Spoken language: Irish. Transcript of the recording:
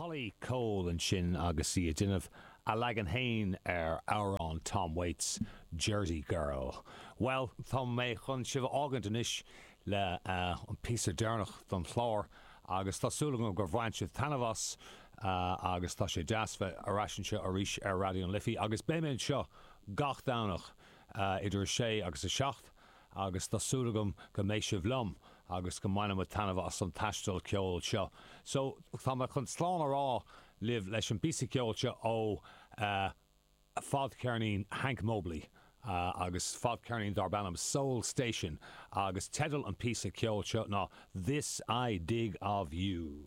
Holly Cole ansin agus í ag déanamh a leagan féin ar amhrán Tom Waits, Jersey Girl. Bhuel, tá mé chun sibh a fhágaint anois le an píosa deireanach don chlár agus tá súil agam gur bhain sibh taitneamh as agus tá sé deas bheith ar ais anseo arís ar Raidió na Life agus beidh mé anseo gach Domhnach idir 6 agus 7 agus tá súil agam go mbeidh sibh liom agus go mbainfidh muid taitneamh as an taisteal ceoil seo. So, tá mé chun slán a rá libh leis an bpíosa ceoil seo ó fadcheirnín Hank Mobley agus fadcheirnín darb ainm Soul Station agus teideal an píosa ceoil seo ná This I Dig of You.